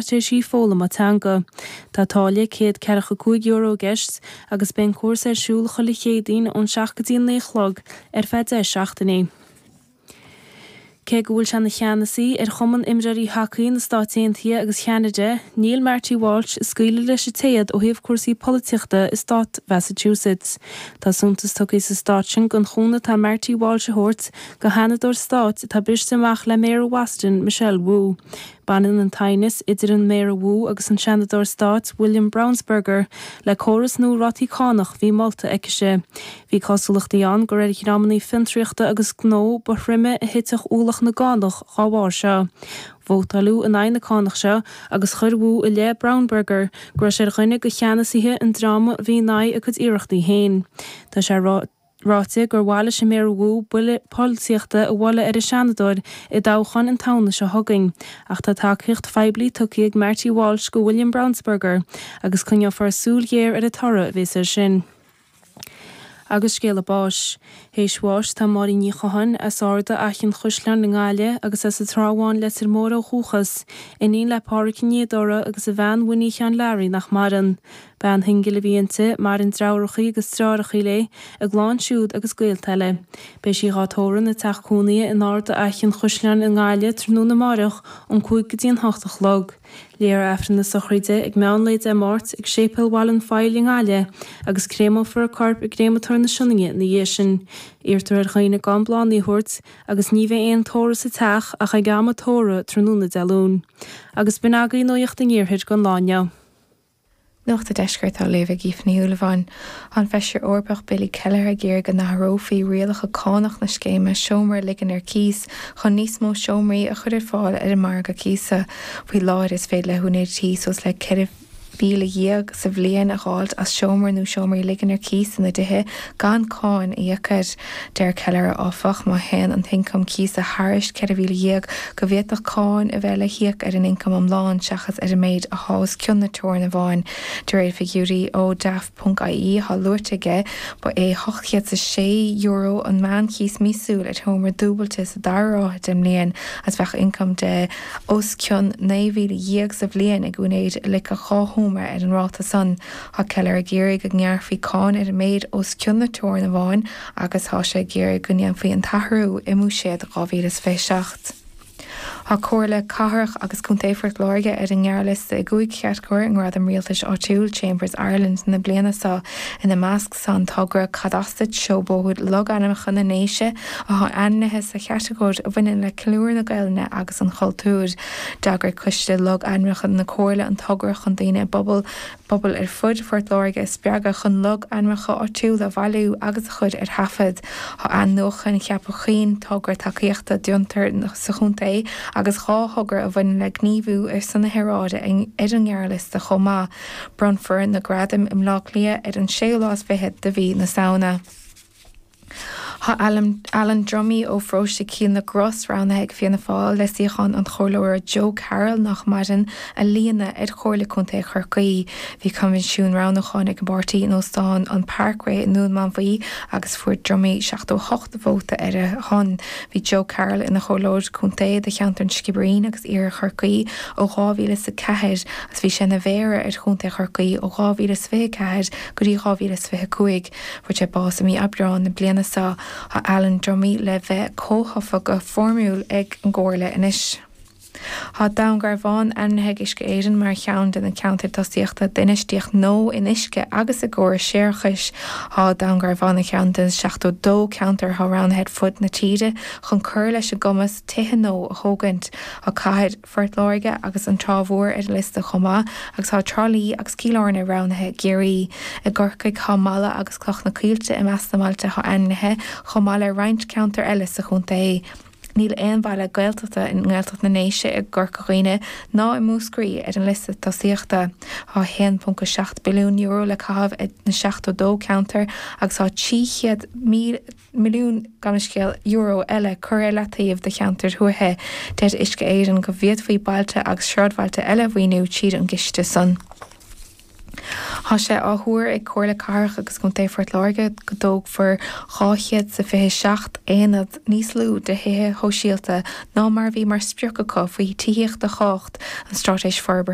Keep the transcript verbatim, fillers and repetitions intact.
straitéisí foghlama teanga. Tá táille céad ceathracha cúig euro i gceist agus beidh an cúrsa ar siúl chuile Chéadaoin ón seacht go dtí an naoi a chlog ar feadh deich seachtainí. Cé go bhfuil sé ina cheannasaí ar Chumann Imreoirí Hacaí na Stát Aontaithe agus Cheanada, níl Marty Walsh ag scaoileadh leis an téad ó thaobh cúrsaí polaitíochta i stát Mhassachusetts. Tá suntas tugtha sa stát sin don chúnamh atá Marty Walsh a thabhairt do sheanadóir stáit atá briste amach le Méara Boston, Michelle Wu. Baineann an t-aighneas idir an Méara Wu agus an seanadóir stáit William Brownsberger le córas nua rátaí cánach a bhí molta aicise. Bhí cosúlachtaí ann gur ar dhreamanna fiontraíochta agus gnó ba throime a thitfeadh ualach na gcánach dá bharr seo. Vótáladh in aghaidh na cánach seo agus chuir Wu i leith Brownsberger go raibh sé ar dhuine de cheannasaithe an dreama a bhí in aghaidh a cuid iarrachtaí féin. Tá sé ráite gur mhaith leis an Méara Wu buille polaitíochta a bhualadh ar an seanadóir i dtoghchán an tsamhraidh seo chugainn, ach tá tacaíocht phoiblí tugtha ag Marty Walsh go William Brownsberger agus coinneofar súil ghéar ar an toradh a bheas air sin. Agus scéala báis. Théis bháis tá Máirín Ní Chatháin as Ard Fhaiche an Chaisleáin i nGaillimh agus as an Trá Bháin Leitir Móir ó dhúchas, iníon le Pádraig an Éadóra agus a bhean Winnie Sheáin Learaí nach maireann. Bean shingil a bhí inti, maireann deartháireacha agus deirfiúracha léi, a gclann siúd agus gaolta eile. Beidh sí dhá tórramh ina teach cónaithe in Ard Fhaiche an Chaisleáin i nGaillimh tráthnóna amárach ón cúig go dtí an hocht a chlog. Léifear Aifreann na sochraide ag meán lae Dé Máirt ag Séipéal Bhaile an Phoill i nGaillimh agus créamófar a corp i gcréamatóir na Sionainne ina dhiaidh sin. Iarrtar ar dhaoine gan bláthanna a thabhairt agus ní bheidh aon tórramh sa teach ach ag am an tórraimh tráthnóna Dé Luain. Agus b'in agaibh nuacht an iarthair don lá inniu. Nuacht an Deiscirt á léamh ag Aoife Ní Shúilleabháin. An Feisire Eorpach Billy Kelleher ag iarraidh go n-athrófaí rialacha cánach na scéime seomra a ligean ar cíos chun níos mó seomraí a chur ar fáil ar an margadh cíosa. Faoi láthair is féidir le húinéirí tí suas le ceithre mhíle dhéag sa bhliain a dh'fháilt as seomra nó seomraí a ligean ar cíos ina dtithe gan cáin a íoc air. Deir Kelleher áfach má théann an t-ioncam cíosa thairis ceithre mhíle dhéag go bhféadfadh cáin a bheith le híoc ar an ioncam iomlán seachas ar an méid atá os cionn na teorann amháin. De réir figiúirí ó Daft.ie atá luaite aige ba é ocht chéad is a sé euro an meánchíos míosúil ar sheomra dúbailte sa dara ráithe den mbliain agus bheadh ioncam de os cionn naoi mhíle dhéag sa bhliain ag úinéir a ligfeadh dhá sheomra ar an ráta san. Tá Kelleher ag iarraidh go ngearrfaí cáin ar an méid os cionn na teorann amháin agus tá sé ag iarraidh go ndéanfaí an t-athrú i mBuiséad dhá mhíle is fiche seacht. Tá Comhairle Cathrach agus Contae Phort Láirge ar an ngearrliosta i gcúig chatagóir i nGradam Rialtais Áitiúil Chambers Ireland na bliana seo. Ina measc tá an togra Cad As Duit Seó Bóthair Logainmneacha na nDéise atá ainmnithe sa chatagóir a bhaineann le ceiliúradh na Gaelainne agus an chultúir. D'eagraigh Coiste Logainmneacha na Comhairle an togra chun daoine i bpobal pobail ar fud Phort Láirge a spreagadh chun logainmneacha áitiúla a bhailiú agus a chur ar thaifead. Tá athnuachan Cheapach Chuinn, togra tacaíochta d'fhiontair sa chontae agus dhá thogra a bhaineann le gníomhú ar son na haeráide ar an ngearrliosta chomh maith. Bronnfar na gradaim i mBleá Cliath ar an séú lá is fiche de mhí na Samhna. Tá Alan, Alan Dromey ó Pharóiste Chill na gCros roghnaithe ag Fianna Fáil le suíochán an Chomhairleora Joe Carroll nach maireann a líonadh ar Chomhairle Contae Chorcaí. Bhí coinbhinsiún roghnúcháin ag an bpáirtí in Óstán an Parkway i nDún Mánmhaí agus fuair Dromey seachtó a hocht vóta ar a shon. Bhí Joe Carroll ina chomhairleoir contae do cheantar an Sciobairín agus Iarthar Chorcaí ó dhá mhíle is a ceathair agus bhí sé ina mhéara ar Chontae Chorcaí ó dhá mhíle is fiche a ceathair go dtí dhá mhíle is fiche a cúig. Fuair sé bás i mí Aibreáin na bliana seo. Tá Alan Dromey le bheith comhthofa go foirmiúil ag an gComhairle anois. Tá Dún Garbhán ainmnithe ag Uisce Éireann mar cheann de na ceantair tosaíochta d'infheistíocht nua in uisce agus i gcórais séarachais. Tá Dún Garbhán ar cheann de seachtó dó ceantar atá roghnaithe ar fud na tíre chun cur leis an gcumas tithe nua a thógaint. Tá cathair Phort Láirge agus an Trá Mhór ar an liosta chomh maith agus tá Trá Lí agus Cill Airne roghnaithe i gCiarraí. I gCorcaigh tá Mala agus Cloich na Coillte i measc na mbailte atá ainmnithe chomh maith le roinnt ceantar eile sa chontae. Níl aon bhaile Gaeltachta i nGaeltacht na nDéise i gCorca Dhuibhne ná i Múscraí ar an liosta tosaíochta. Tá a haon ponc a seacht billiún euro le caitheamh ag na seachtó dó ceantar agus tá trí chéad milliún gabh mo leithscéal euro eile curtha ar leataobh do cheantair thuaithe. Deir Uisce Éireann go bhféadfaí bailte agus sráidbhailte eile a mhaoiniú tríd an gciste san. Tá sé á thuar ag Comhairle Cathrach agus Contae Phort Láirge go dtógfar dhá chéad is fiche seacht aonad níos lú de thithe shóisialta ná mar a bhí mar sprioc acu faoi Tithíocht do Chách, an Straitéis Forbartha.